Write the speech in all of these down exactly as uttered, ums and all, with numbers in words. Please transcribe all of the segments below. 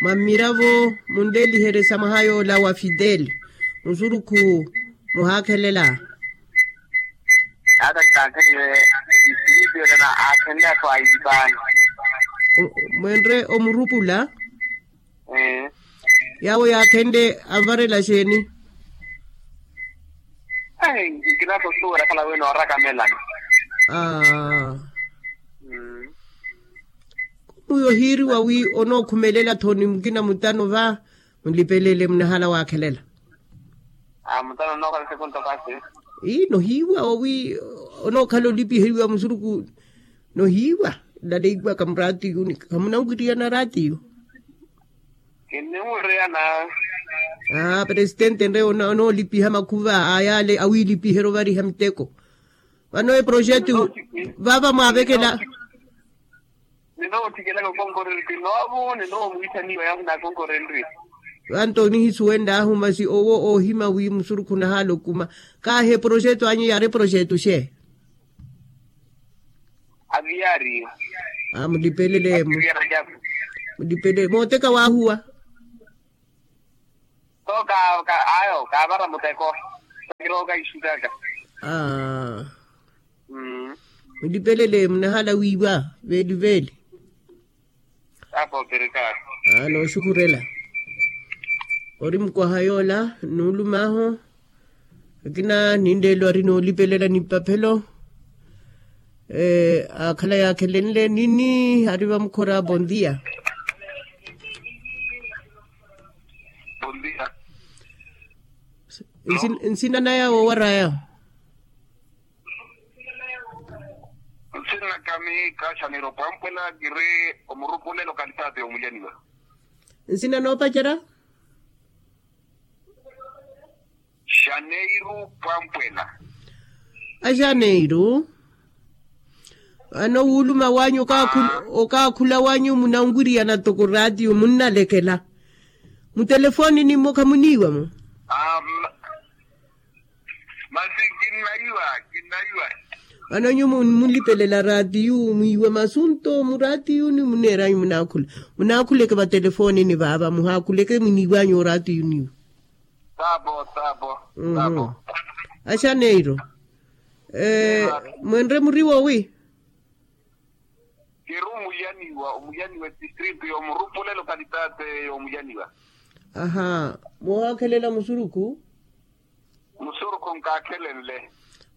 Mwa mmiravo munleliherye sa mwaha yoola wa fidel, musurukhu muhaakhelela. Ata nkaakhelele isipiritu yonena aakhenle athu ailipaani. Mwenre omurupula. Yaawo yaakhenle anvarela xeeni? Nkinasosuwela khala wino orakamelana. Mwiyo ohiiriwa wi onookhumelela thoni mukina mutano va, mulipelele munahala waakhelela. Mutano nookhala sekunto kasi. Ii nohiiwa owi, onookhala olipiheriwa musuruku. Nohiiwa, naleiwaka muraatiyu ni khamunanwiriyana raatiyu. Kinniwiriyana. Aa presitente nre onoolipiha makhuva a yaale awiilipiherya ovariha miteko. Vano eproxeto vaava mwaavekela. Ninoothikelaka okonkorerya kinoovo ninoomwiithaniwa yaahu naakonkorerye. Vanto onihisuwenlaahu masi owo oohima wi musurukhu nahaala okuma. Kaahi eproxeto anyu yaari eproxeto xe? Aviyaari. Mulipelele. Mulipelele mooteka waahuwa. Ayo kaavara muteko. Sakirooka ixutaka. Mulipelele munahala wiiwa veeliveeli. Apo opereka. Nooxukhurela. Ori mukwaha yoola nuulumaahu. Akina ninleelo ari noolipelela nipaphelo. Aakhala yaakhelenle nini ari vamukhora bondia. Nsina naya woowaraya? Nsina naka mihi kaaxaneiro pwampwela kiri omurupule lokalitati yomulyaniwa. Nsina noopacerya? Xaneiru pwampwela. Axaneiru. Vano wuuluma wanyu okaakhula wanyu munanwiriyana toko raatiyo munnalekela. Mutelefonini mmo khamuniiwa-mo? Masi kinnaiwa. Kinnaiwa. Vano nyuwo munlipelela raatiyu mwiiwa masunto muraatiyuni muneeranyu munaakhula. Munaakhuleke vatelefonini vaava muhaakhuleke mwiniiwanyu oraatiyuniwo. Sapo sapo. Sapo. Axaneiro. Mwenre muriwo wi? Kiri omulyaniwa omulyaniwa etistritu yoomurupule lokalitate yomulyaniwa. Aha. Moohaakhelela musuruku? Musuruku nkaakhelenle.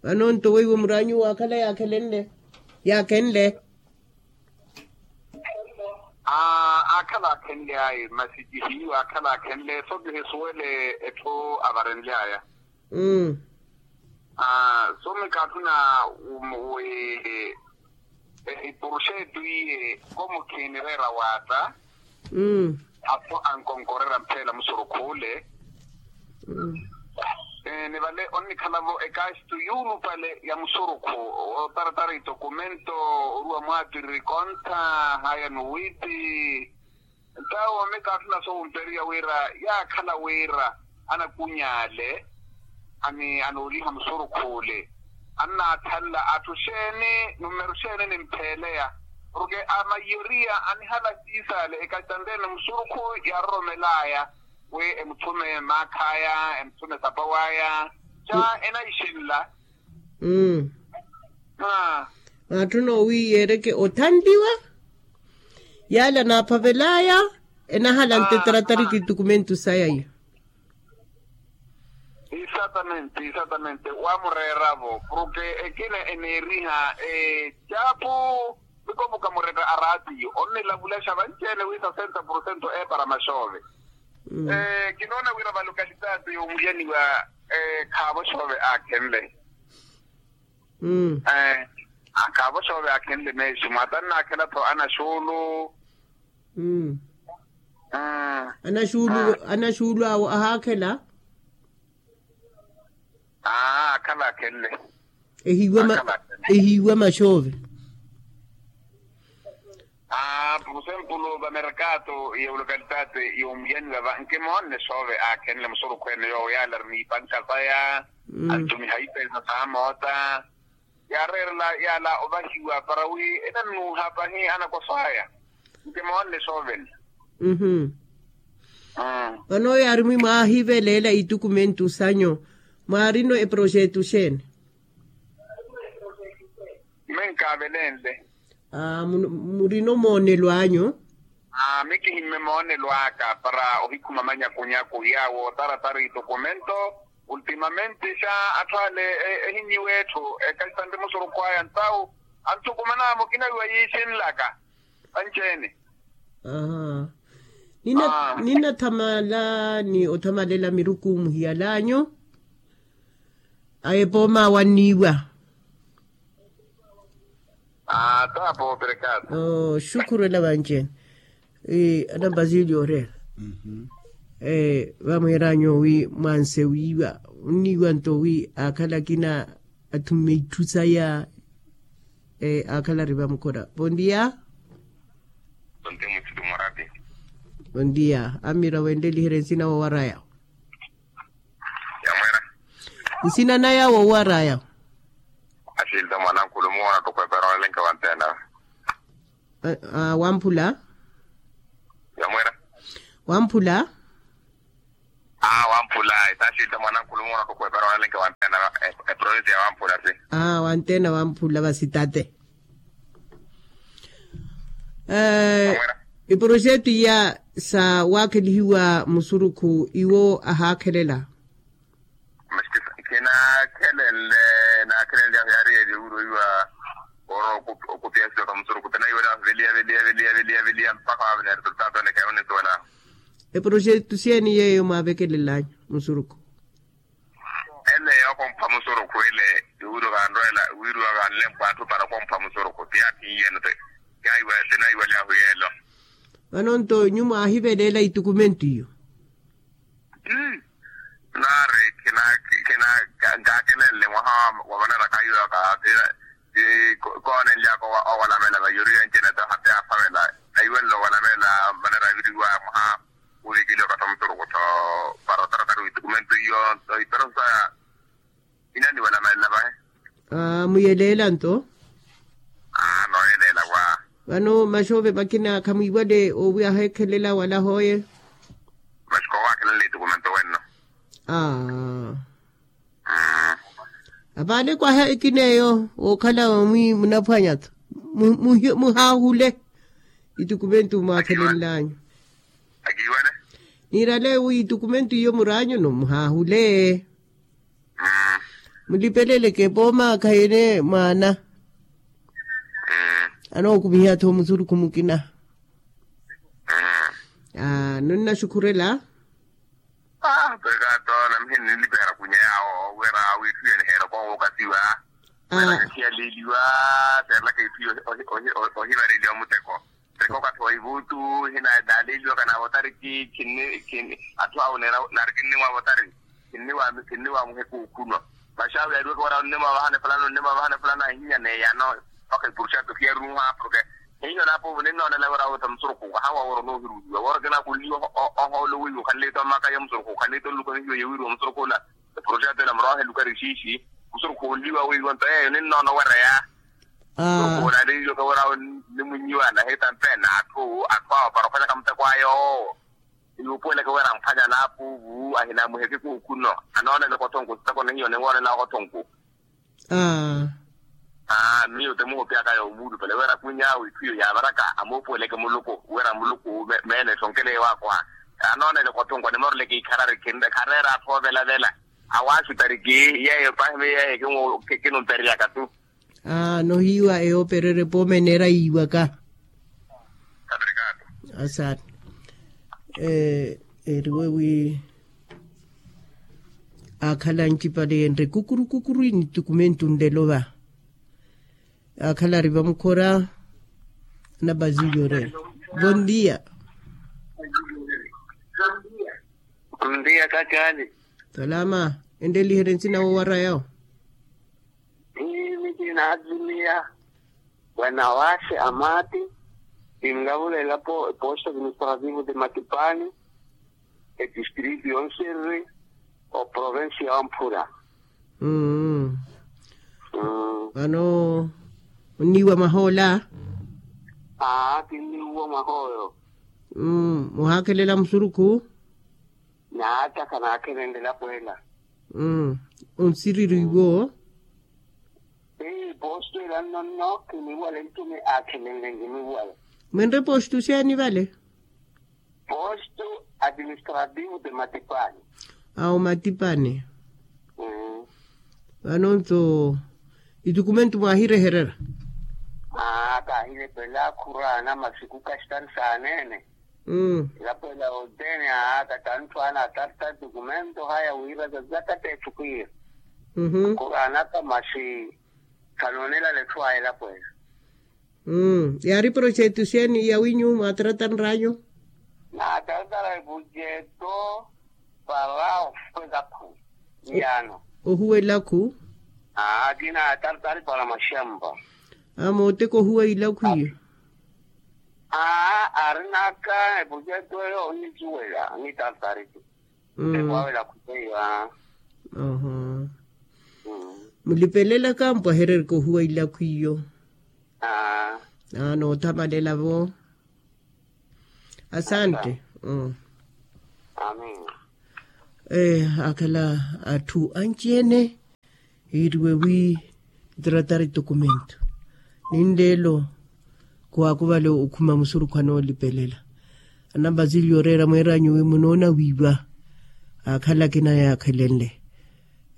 Vano nto weiwo muraanyu waakhala yaakhelenle? Yaakhenle. Aakhala aakhenle ayi masi kihiiwa aakhala aakhenle so kihisuwele etthu avarenly'aya. So mikaatthuna wi ehipuruxetu iye komu khiinireera waatta. Apo ankonkorera mpheela musurukh'ule. Ni vale onnikhala-vo ekaaxitu yuulupale ya musurukhu otaratara itokumento oruwa mwaattiriri kontha haya nuwiitti. Ntawo mikaatthuna soomperiwa wira yaakhala wira anakuny'ale ani anooliha musurukhuule annaathanla atthu xeeni numeru xeeni nimpheeleya. Porke a mayoriya anihala siisaale ekasitanteene musurukhu yaaroromel'aya wi emuthume maakh'aya emuthume sapa w'aya ca enayixinla. Aatthuna owi yeereke othanliwa yaale anaaphavel'aya enahala nteteratari kitukumentu saya iya. Exatamente exatamente wamureera-vo porke ekina eneeriha ecaapu. Mikomuka muretta araatiyo onnilavulaxa vanci-ene wi sasenta porosento eepara maxoove. Kinoona wira valokalitati yomulyaniwa khaavo xoove aakhenle. Khaavo xoove aakhenle meexi mwaata nnaakhela-tho anaxuulu. Anaxuulu awo ahaakhela. Aakhala aakhenle. Ehiiwa maxoove. Por exemplo vamerkato ya vulokalitati yoomuyaniwa va nkimoonne soove aakhenle musurukhu ene yoowo yaala ari n'ipanka saya. Antumiha ipesa saamoota yaareerela yaala ovahiwa para wi enannuuha pahi anakoso aya. Nkimoonne soovene. Vano yaari mwi mwaahiveleela itukumentu sanyu, mwaarino eprojetu xeeni? Mwe nkaavelenle. Murino moonelo anyu? Mikihimme moonelo aka para ohikhuma manyakunyaku yaawo otaratara itukumento. Ultimamente xa atthu ale ehinyiwa etthu, ekaisanri musurukhu aya ntawu anthukumana mukina wiwa yiixinlaka. Anci-ene. Aha. Ninathamala ni othamalela miruku muhiyalanyu. Aye pooma wanniiwa. Aa taapo operekata. Xukhurela vanci-ene. Anambasilyo oreera. Vamweeranyu wi mwanse wiiwa onniiwa nto wi aakhala akina athumme itthu saya. Aakhala ari vamukhora. Bondia. Bondia. Amiira wenteliherya nsina woowara yawo. Nsina naya woowara yawo. Axilta mwanankhulu muwoona ttukwepera olelenke wanteena. Wamphula. Wamphula. Aa wamphula. Itaxilta mwanankhulu muwoona ttukwepera olelenke wanteena. Eprovinsi ya wamphula si. Aa wanteena wamphula vasitate. Iprojetu iya sa waakhelihiwa musurukhu iwo ahaakhelela. Kinaakhelenle. Naakhelenle ahu yaari yeeli owiro iwa. Oro okupyasiwa ka musurukhu tinayiwela ahu veliya veliya veliya veliya veliya mpakha waavene resultato ene khayawo nisuwela. Eprojetu xeeni yeeyo mwaavekelel'anyu musurukhu? Ele yookompha musurukhu ele. Iwiro kanrwela wiriwa kanlempo atthu para okompha musurukhu ti yaathinyiyeno. Tinayiwela ahu yeelo. Vano nto nyuwo mwaahivelela itukumento iyo? Naari khina khina nkaakelenle mwaha wa vanaraka iwaka. Koonenlyaka owalamela vayoriwa ncene to hati aaphavela. Ayiwenle owalamela manera aviriwa mwaha. Wuvikiliwa okathi omuturuku tho para otaratari witukumento iyo. Nto iperosa inaniwalamelela vahe. Muyeleela nto. Nooyeleela wa. Vano maxoove makina khamwiiwale owi aheekhelela wala hooye? Maxiko owaakhelela itukumento wenno. Apaale kwaha ekineeyo wookhala omwi munaphwanya-tho. Muhaahule itukumento mwaakhelenlanyu. Niirale wi itukumento iyo muraanyu no muhaahule. Mulipeleleke pooma khayene mwaana. Anookumiha-tho musurukhu mukina. Nonnaxukhurela. Pekato namihe ninlipehera kunya yawo wira witthu yeniheera koowo okasiwa. Wira kihiyaleliwa. Seerelaka itthu ohivareliwa muteko. Teko okathi wa ivuutu hina naaleliwaka naavotariki. Atthu awo nari kinnimwaavotari. Kinniwaamuheka okhunwa. Maxaawi yaariweke wira onnimwaavahani fulani onnimwaavahani fulani ahinya neeyano. Mpakha ipurushato khiyaruha porke hiyo naapuuvu ninnoonela wira wootta musurukhu kahawa wira onoohiruliwa wira okina khunliwa. Ohoolo weiwo khanleita omaka ya musurukhu khanleita onluka hiyo yewiriwa musurukhu ola. Epurushato ela muroohe lukari xiixi. Musurukhu onliwa weiwo nto yeeyo ninnoona owereya. Musurukhu ola aleeliwaka wira nimunyiwa nahitampe na atthu atthu awo para ophwanyaka muteko ayo. Iwupuweleke wira amphwanya naapuuvu ahinaamuheke kuukhuno. Anooneleke othonku sitako nihiyo ninwoonelaka othonku. Aa. Miyo temuhopyaka yoomuulupale wira kwinyaawe itthu iyo yaavaraka amuupuweleke muluku wira muluku meene esonkele ewaakwa. Anooneleke othonku animoreleke ikharari khareera atthu oovelavela. Awaaxutariki yeeyo pahi miyo yeeyo kinumpereyaka tu. Nohiiwa eyoopererya pooma eneera yiiwaka. Asante. Eriwe wi aakhala ancipale enre kukuru kukuru initukumentu nlelo va. Aakhala ari vamukhora. Anabazilyo orela. Bondia. Bondia kakali. Salama. Enteliherye nsina woowara yawo. Mimi kinaazimiya wanawashe amati. Kinlavulela po eposto administrativo de matipani. Etistritu yonserre oprovensi ya wamphura. Vano onniiwa mwaha ola. Aa kinniiwa mwaha oyo. Muhaakhelela musurukhu. Naataka naakhelenle lapweela. Onsiriri iwo. Ii posto ila nnonno kiniwale ntumi aakhelenle nkiniwale. Mwenre posto siyaani vale? Posto administrativo de matipani. Awo matipani. Vanonto itukumentu mwaahireherera? Aa kaahilepela khuraana masiku kastari saaneene. Lapwela otene aa katanthu ana atarta itukumentu haya wira zazaka teetthu khwiira. Khuraanaka masi khanoonelala etthu aya elapwela. Yaari projeto siyaani yawinyu mwaataratanr'anyu? Naataratara eprojeto para ohuwa elakhu. Iyaano. Ohuwa elakhu. Aa kinaataratari para maxampa. Amooteka ohuwa ilakhu iyo. Aa arinaka eprojeto eyo onisuwela onitartari. Ekwawela khuteiwa. Oho. Mulipelelaka mpwahererika ohuwa ilakhu iyo. Aa noothamalela-vo. Asante. Amen. Akhala atthu anci-ene yiiriwe wi tratari tokumento. Ninleelo kuwaakuvale okhuma musurukhu anoolipelela. Anambasilya oreera mweeranyu wi munoona wiiwa. Akhala akina yaakhelenle.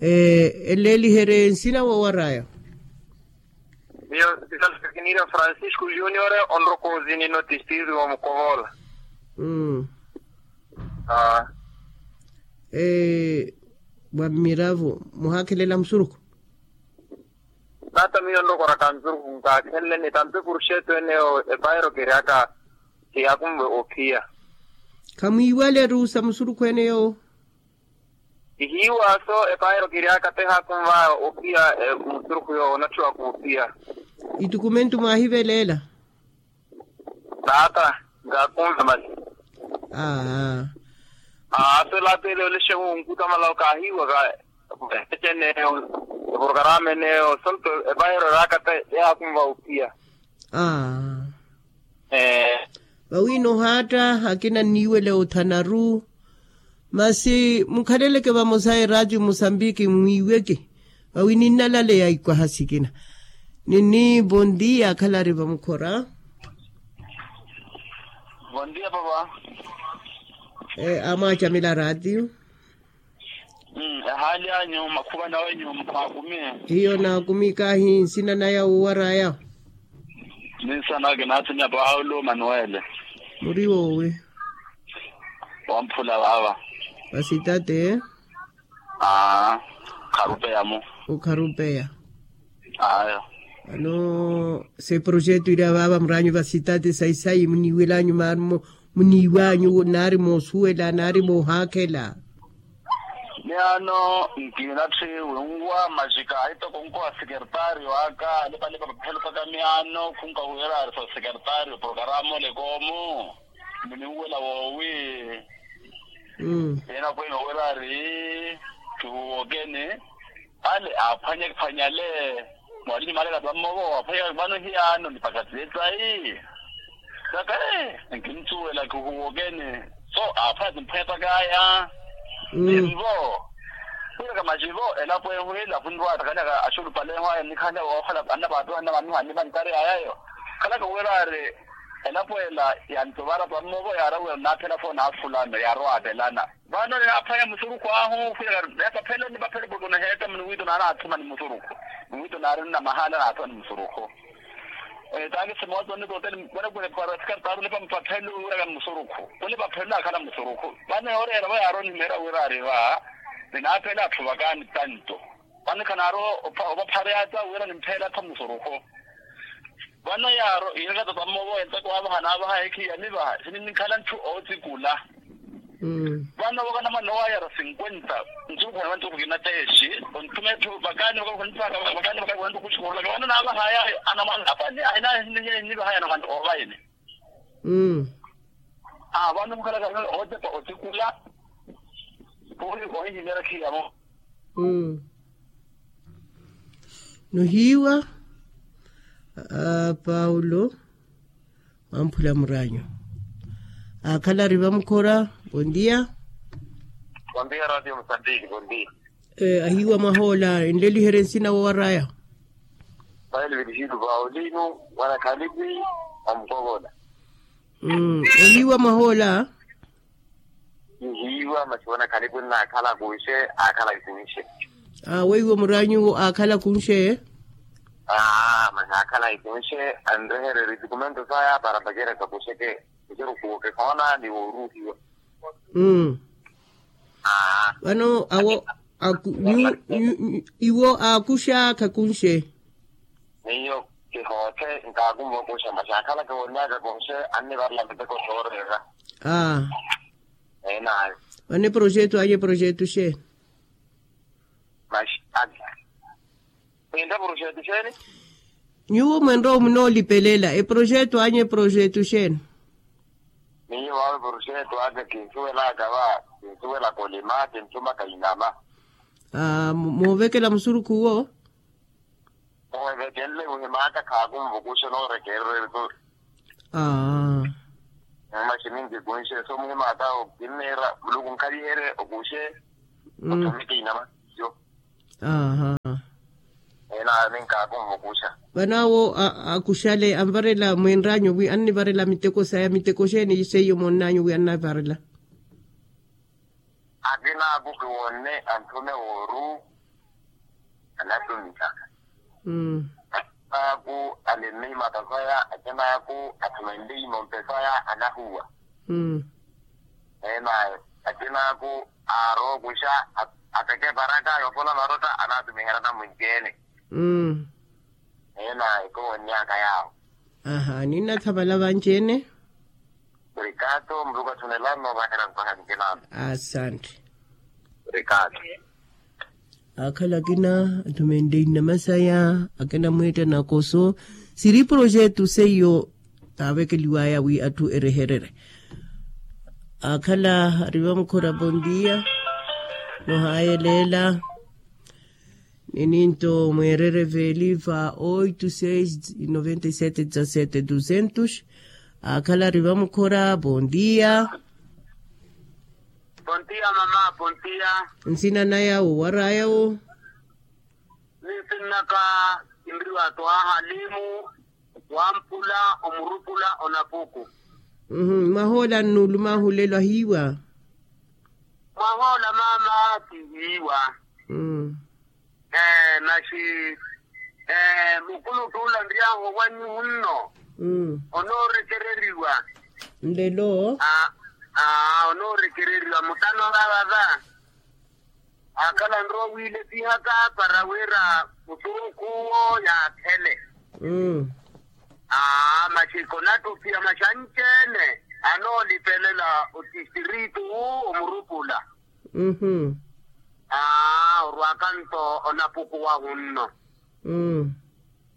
Eleeliherye nsina woowar'aya. Miyo sisalakiniira francisco junior onrokozi nino tistiri wa mukovola. Mmm. Aa. Mwamiravo muhaakhelela musurukhu? Taata miyo nrokoraka nsurukhu nkaakhenleni tampe purxeto eneyo epairo kiriaka. Kiyaakunve ophiya. Khamwiiwale ruusa musurukhu eneyo? Kihiiwa so epairo kiriaka tehaakunvaya ophiya. Musurukhu yoowo onatthiwaka ophiya. Itukumentu mwaahivelela? Taata nkaakunve masi. Aa. Aa so elaapele olexe wunkuta malao kaahiiwaka. Ecenneyo eporokaramu eneyo sonto epairo eraaka te yaakunva ophiya. Aa. Ee. Vawi noohaatta akina nniiwele othanaru. Masi mukhaleleke vamosa eraatiyo musambiki mwiiweke. Vawi ninnalaleya ikwaha sikina. Nini bondia akhalari vamukhora. Bondia papa. Amwaacamela raatiyo. Ehaali anyu makhuva nawenyu mwaakumi? Hiyo naakumi kaahi nsina naya woowaraya. Ninsana kinaathenya paulo manuwele. Muri woowi? Wamphula vaava. Vasitate. Aa. Kharupeya-mu. Okharupeya. Ayo. Vano se projeto ila vaava muraanyu vasitate sayi sayi muniiwelanyu maari muniiwanyu naari moosuwela naari moohaakhela. Miyaano nkinatthi winwa masi kaahitoko nkowa sekertario aka alipalipa paphelo paka miyaano khunkahuwela ari so sekertario porokaramu olekoomu. Muninwela woowi? Ena kweene owerari kihuwokeni. Ale aaphwanye phwanyale. Mwalimu maleka tammovo waphwanya vano hiyaano nipakatile tayi. Saka ee nkinsuwela kihuwokeni. So aaphwanya timphwepakaya. Nimvo. Khwiraka macivo elapo ehu ila khunrwa takalaka axulupale ehu aya nnikhala woohola anna vaatu anna vamiho annivantaryayayo. Khalaka wira ari elapo ela yantovara pammovo yaarawiwa nnaaphela fo naakhulano yaarowaavelana. Vano ninaaphwanya musurukhu ahu khwira yapaphelo nipaphelo porke onaheeta muniwiito naanaathuma ni musurukhu. Niwiito naari nnamahaala naathuma ni musurukhu. Taakisi mooto nnikoteli mwenekwene para sikari taarulepa mupaphelo wiraka musurukhu. Onipaphelo naakhala musurukhu vano yooreera vo yaari onimeera wira ari va. Ninaaphela atthu vakaani tanto. Vano khanaarowa opaphareya ata wira nimpheela ata musurukhu. Vano yaaro iiraka tata mmovo enteko waavaha naavaha ekhiya nivaha sininikhala ntthu ootsikula. Vano vaka namwana owayara sinkwenta nsurukhu na vantukhu kinateexi. Ontuma etthu vakaani vakakhunipaka vakaani vakakhunipaka khuxukhurulaka vano naavahaya anamwana apani ahina ahinihiya hinivaha yanamwana oovayini. Aa vano mukhalaka otepa otikula. Puri ohihimeera khiyamo. Nohiiwa. Paulo wamphula muraanyu akhala ari vamukhora. Bondia. Bondia radio mosambiki bondia. Ahiiwa mwahoola enleliherye nsina wowaraya. Paili virisitu paulinu, mwana khalipi, amukovola. Ohiiwa mwahoola. Nihiiwa masi mwana khalipi nnaakhala kunxe, aakhala kunxe. Weiwo muraanyuwo aakhala kunxe. Masi aakhala kunxe, anrehererye itikumento saya para pacereka kuxeke. Kuxeke kuwo kekoona ni wooruuhiwa. Vano awo iwo aakuxa khakunxe. Miyo kihoothe nkaakumva okuxa masi akhala kiwonnyaka kunxe, annivarela miteko sooreera. Aa. Eenaayo. Vano eproxeto anyu eproxeto xeeni? Masi ati mwintta proxeto xeeni? Nyuwo mwenrowa munoolipelela eproxeto anyu eproxeto xeeni? Miyo vaawe proxeto aka kinsuwelaka va, kinsuwelaka olima kintthumaka inama. Moovekela musurukhu uwo. Moovekenle muhimaka khaakumva okuxa noorekererya. Masi ninki kunxe so muhimaka okinniira muluku nkhaviherye okuxe. Othumike inama. Aaha. Eenaayo ninkaakumva okuxa. Vano awo akuxale anvarela mwinraanyu wi annivarela miteko saya miteko xeeni seiyo moonnanyu wi annavarela? Akinaaku kiwonne anthume wooru. Anattumikaka. Akinaaku alemme imata saya akinaaku athumenle imompe saya anahuwa. Eenaayo akinaaku aarookuxa ateke eparaka yoopola marotta anaatumiherya namwinci-ene. Eenaayo kowonnyaka yaawo. Aha ninnathamala vanci-ene. Obrigado muluku athunelani noovahera nkoha ncinano. Asante. Obrigado. Akhala akina athumenle inama saya akina mweetta nakoso siri proxeto seiyo taavekeliwaya wi atthu erehererye. Akhala ari vamukhora bondia. Nohaayeleela. Nininto mweerereveli va oito seis noventa e sete dezasete duzentos. Akhala ari vamukhora bondia. Bondia mama bondia. Nsina naya wo waraaya wo? Ninsinnaka kinriwa twaha limu. Wampula omurupula onapuku. Mwahoola nnuuluma ahulelo ahiiwa? Mwahoola mama kihiiwa. Masi mukulutt'ula nryahu owanyu hunno onoorekereriwa. Nlelo. Onoorekereriwa mutano vavava. Akhala nrowa wiilepihaka para wira musurukhu uwo yaakhele. Aa masi konattupiya masi anci-ene anoolipelela otistiritu wu omurupula. Aa orwaka nto onapuku wahunno.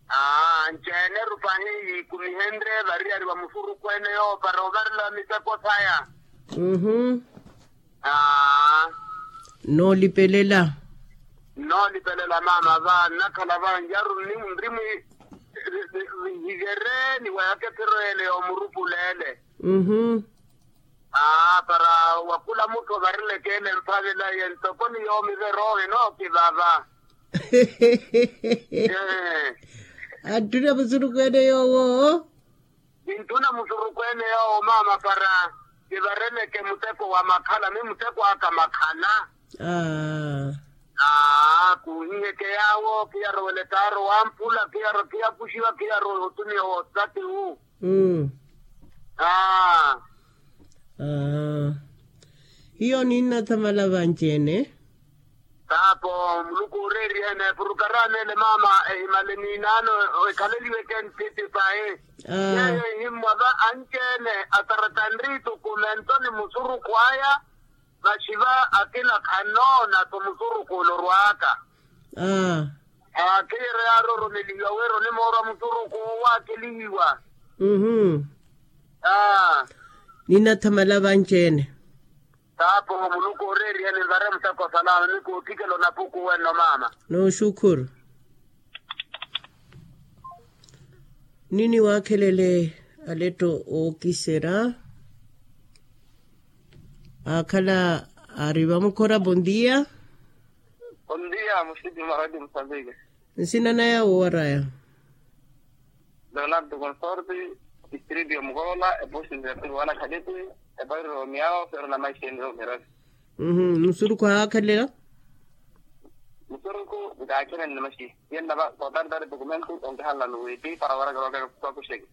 Aa anci-ene rupahi yiikumihenrye variyari wa musurukhu ene yoowo para ovarela miteko saya. Aa. Nnoolipelela. Nnoolipelela mama va nnakhala va nyaru nri mwi. Vihivere ni wayaka ephiro ele yoomurupula ele. Aa para wakula mutthu ovarileke ele mphavela ye ntoko ni yoomivero enookivava. Atthuna musurukhu ene yoowo. Kintthuna musurukhu ene yoowo mama para kivareleke muteko wa makhala mi muteko aka makhala. Aa kuuhiheke yaawo kiyarowele taaro wamphula kiyarowa kiyakuxiwa kiyarowa otumiya woosati wu. Aa. Hiyo ninnathamala vanci-ene. Taapo muluku ooreeriyene purukaramu ele mama ehimale niinaano ekhaleliweke ntthitti pahi. Yeeyo ehimmwa va anci-ene atarata nriituku mentoni musurukhu aya. Masi va akina khannoona-tho musurukhu olorwaka. Aa. Aa keyeryo yaaroromelihiwa wira onimoorwa musurukhu owo waakelihiwa. Aa. Ninnathamala vanci-ene. Taapo muluku ooreeriyeni nvare muteko salama ni koottikela onapuku wenno mama. Nooxukhuru. Nini waakhelele aletto ookiserya. Aakhala Ari vamukhora bondia. Bondia muxiti maradio musambiki. Nsina naya wowaraya. Leonardo consorti, distrito ya mukola epoxi nzertiko wana khaliti, epairo miao fero na maixi eniro mirasi. Musuruku ahaakhelela. Musuruku nkaakhelela ni maxi. Yennava kotartari dokumento onkihanlano witi para warakarwaka kwakuxeke.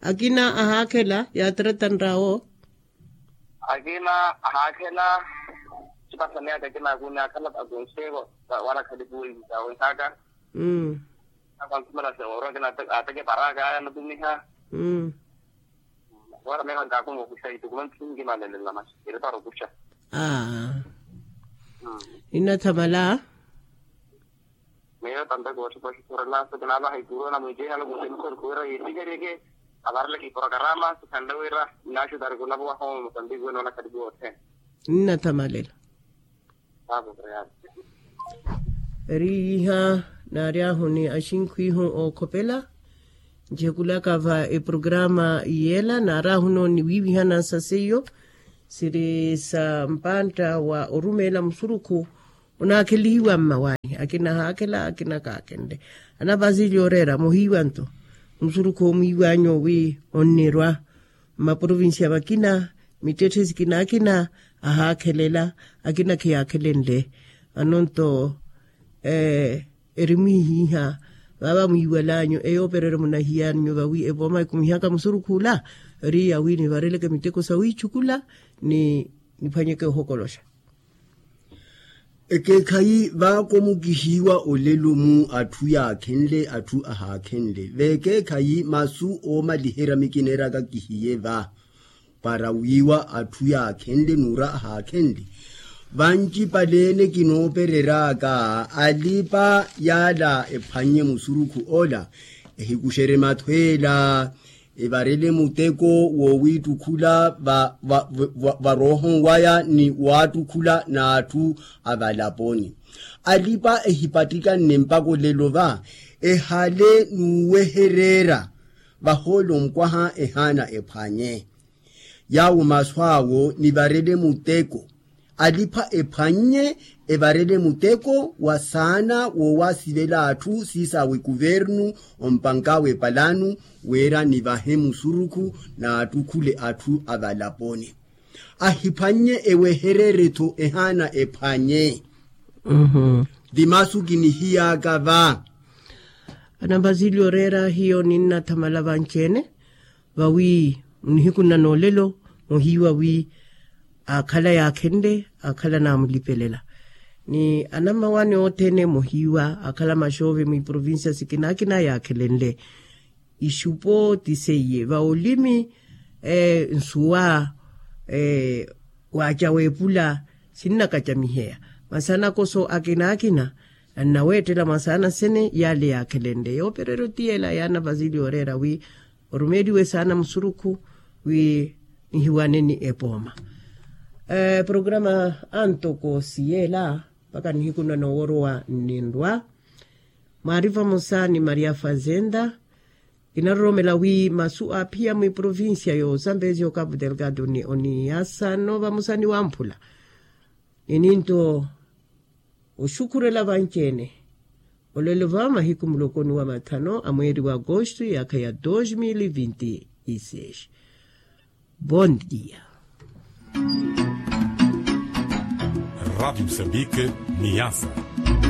Akina ahaakhela yaatratanrawo. Akina ahaakhela. Sipasaneya takina akuni akhala akonsevo wala khalipuweivi sawenhaka. Akwantumela sewooro akina ateke paraka aya natumiha. Wala meha nkakumokuxa itukumantu sinkimanelelama. Iri para okuxa. Aa. Inathamala. Meyo tampe kootthipa oxukhurela so kinaavaha ikuru na mwiicehi alokuti musorikhu wira yiitikereke. Avareleke iporokarama sikhanle wira nnaxutari khulapuwa homo mosambiki wenoona khalipuwa othene. Nnathamalela. Eri iha naari ahu ni axinkhwihu ookhopela. Ncekulaka va eprograma yela naari ahu nooni wiivihana sa seiyo siri sa mpantta wa orumeela musurukhu. Onaakhelihiwa mmawaani akina ahaakhela akina kaakhenle. Ana vasili oreera muhiiwa nto musurukhu omwiiwanyu owi onnirwa mmaprovincia vakina mittetthe sikina akina ahaakhelela akina khiyaakhelenle. Ano nto erimwihiha vava mwiiwalanyu eyoopereryo munahiyanyu vawi evooma ekumihaka musurukhula eri yawi nivareleke miteko sawiichukula ni niphwanyeke ohokoloxa. Ekeekhayi vaako mukihiiwa olelo mu atthu yaakhenle atthu ahaakhenle veekeekhayi masu oomaliherya mikineeraka kihiye va para wiiwa atthu yaakhenle nuura ahaakhenle. Vancipaleene kinoopereryaaka alipa yaala ephwannye musurukhu ola ehikuxerye mathweela evarele muteko woowiittukhula varoohon waya ni waattukhula n'atthu avalaponi. Alipa ehipattikanne mpakha olelo va ehale n'uwehereera vahoolo nkwaha ehaana ephwanye. Yaawo masu awo nivarele muteko alipha ephwannye evarele muteko wa saana woowasivela atthu siisaawe kuvernu ompankaawe epalanu wira nivahe musurukhu naattukhule atthu avalaponi. Ahiphwannye ewehereere-tho ehaana ephwanye. Ti masu kinihiyaaka va. Anambaziili oreera hiyo ninnathamala vanci-ene vawi nihiku nna noolelo muhiiwa wi aakhala yaakhenle aakhala naamulipelela ni anammawaani othene muhiiwa aakhala maxoove mwiprovincia sikina akina yaakhelenle. Ixupo ti seiye va olimi nsuwa waaca weepula sinnakacamiheya. Masi anakoso akina akina annaweettela mwa saana sene yaale yaakhelenle yoopereryo ti yeela yaana vasili yooreera wi orumeeliwe saana musurukhu wi nihiwane ni epooma. Programa antoko siyeela mpaka nihiku nna nooworowa nninrwa mwaari vamosa ni maria fazenda. Kinaroromela wi masu aaphiya mwiprovincia yo zambezia o cabo delgado ni oniasa no vamosa ni wamphula. Ni ninto oxukhurela vanci-ene olelo va mahiku muloko ni wa mathano a mweeri wa agosto yaakha ya dos mil e vinte e seis. Bon dia. Rádio Moçambique, Niassa.